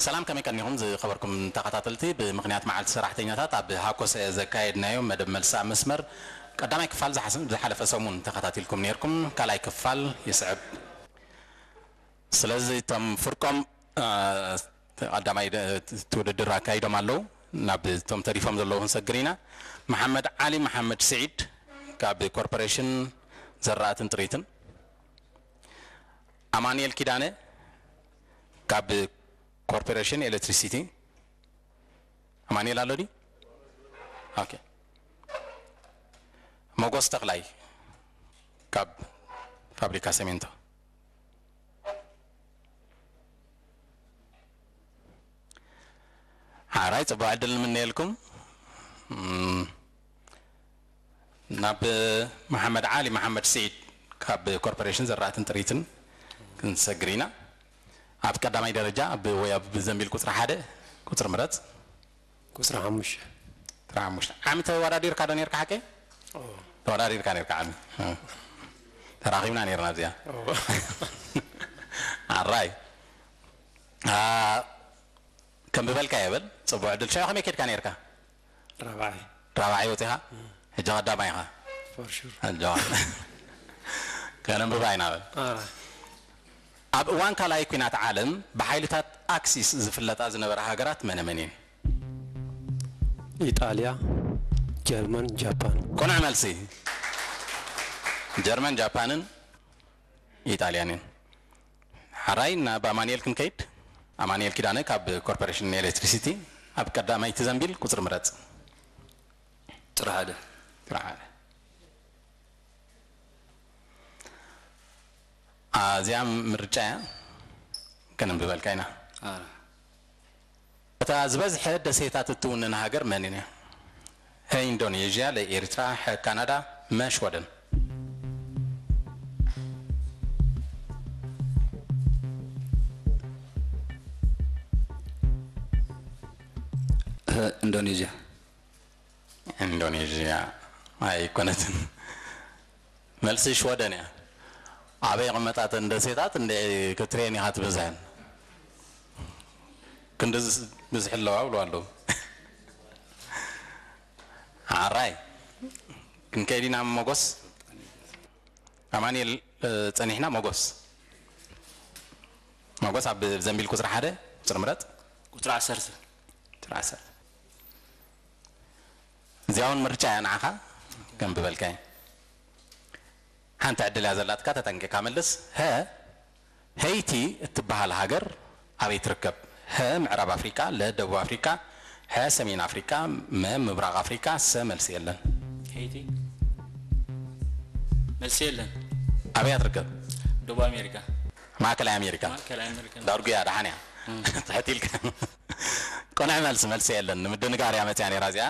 ሰላም፣ ከመይ ቀኒኹም ዝኸበርኩም ተኸታተልቲ? ብምኽንያት መዓልቲ ሰራሕተኛታት ኣብ ሃኮሰ ዘካየድናዮ መደብ መልሲ ኣብ መስመር ቀዳማይ ክፋል ዝሓስ-፣ ዝሓለፈ ሰሙን ተኸታቲልኩም ነይርኩም። ካልኣይ ክፋል ይስዕብ። ስለዚ እቶም ፍርቆም፣ አ፣ ቀዳማይ ደ-፣ እቲ ውድድር ኣካይዶም ኣለዉ። ናብ እቶም ተሪፎም ዘለዉ ክንሰግር ኢና። መሓመድ ዓሊ መሓመድ ስዒድ ካብ ኮርፖሬሽን ዘራእትን ጥሪትን፣ ኣማኑኤል ኪዳነ ካብ ኮርፖሬሽን ኤሌክትሪሲቲ። ኣማኑኤል ኣሎ ድዩ? ኦኬ። ሞጎስ ተኽላይ ካብ ፋብሪካ ሰሜንቶ። ሓራይ፣ ጽቡቕ ዕድል ንምነየልኩም። እም፣ ናብ መሓመድ ዓሊ መሓመድ ስዒድ ካብ ኮርፖሬሽን ዘራእትን ጥሪትን ክንሰግር ኢና። ኣብ ቀዳማይ ደረጃ ብ-፣ ወይ ኣብ ዘንቢል ቁጽሪ ሓደ ቁጽሪ ምረጽ። ቁጽሪ ሓሙሽተ። ቁጽሪ ሓሙሽተ። ዓሚ ተወዳዲርካ ዶ ነርካ ሓቀይ? ኦ። ተወዳዲርካ ነርካ ዓሚ። እ። ተራኺብና ነርና ኣብዚኣ። ኦ። ኣራይ። አ፣ ከም ብበልካ የበል፣ ጽቡቕ ዕድል። ሽዑ ከመይ ኬድካ ነርካ? ራብዓይ። ራብዓይ ወጺኻ? ሕጂ ቀዳማይ ኢኻ? For sure። ሕጂ ከነንብባ ኢና በል። ኣራይ። ኣብ እዋን ካልኣይ ኲናት ዓለም ብሓይልታት ኣክሲስ ዝፍለጣ ዝነበራ ሃገራት መነ መን እየን? ኢጣልያ፣ ጀርመን፣ ጃፓን። ቅኑዕ መልሲ። ጀርመን፣ ጃፓንን ኢጣልያን እየን። ሓራይ ናብ ኣማኑኤል ክንከይድ። ኣማኑኤል ኪዳነ ካብ ኮርፖሬሽን ኤሌክትሪሲቲ፣ ኣብ ቀዳማይቲ ዘንቢል ቁጽሪ ምረጽ። ቁጽሪ ሓደ። ቁጽሪ ሓደ። ኣዚኣ ምርጫ እያ። ከነንብበልካ ኢና። ኣረ። እታ ዝበዝሐ ደሴታት እትውንን ሃገር መን እያ? ሀ ኢንዶኔዥያ፣ ለ ኤርትራ፣ ሐ ካናዳ፣ መ ሽወደን። ሀ ኢንዶኔዥያ። ኢንዶኔዥያ ኣይኮነትን። መልሲ ሽወደን እያ። ኣበይ ይቕመጣ እተን ደሴታት እንደ ክትሬን ኢኻ ትበዝሐን። ክንዲ ዝ-፣ ብዝሒ ኣለዋ ብሎ ኣለዉ። ኣራይ። ክንከይድ ኢና ሞጎስ። ኣማኑኤል፣ እ፣ ጸኒሕና ሞጎስ። ሞጎስ ኣብ ዘንቢል ቁጽሪ ሓደ፣ ቁጽሪ ምረጥ። ቁጽሪ ዓሰርተ። ቁጽሪ ዓሰርተ። እዚኣ እውን ምርጫ እያ ንዓኻ፣ ከንብበልካ እየ። ሓንቲ ዕድል እያ ዘላትካ፣ ተጠንቂቕካ መልስ። ሀ፣ ሄይቲ እትበሃል ሃገር ኣበይ ትርከብ? ሀ፣ ምዕራብ ኣፍሪቃ፣ ለ፣ ደቡብ ኣፍሪቃ፣ ሐ፣ ሰሜን ኣፍሪቃ፣ መ፣ ምብራቕ ኣፍሪቃ፣ ሰ፣ መልሲ የለን። ሄይቲ። መልሲ የለን። ኣበይ እያ ትርከብ? ደቡብ ኣሜሪካ። ማእከላይ ኣሜሪካ። ማእከላይ ኣሜሪካ። ዳርጉ እያ፣ ደሓን እያ። እም። ትሕት ኢልካ። ቅኑዕ መልሲ፣ መልሲ የለን። ንምድንጋር እያ መጽያ ነይራ እዚኣ።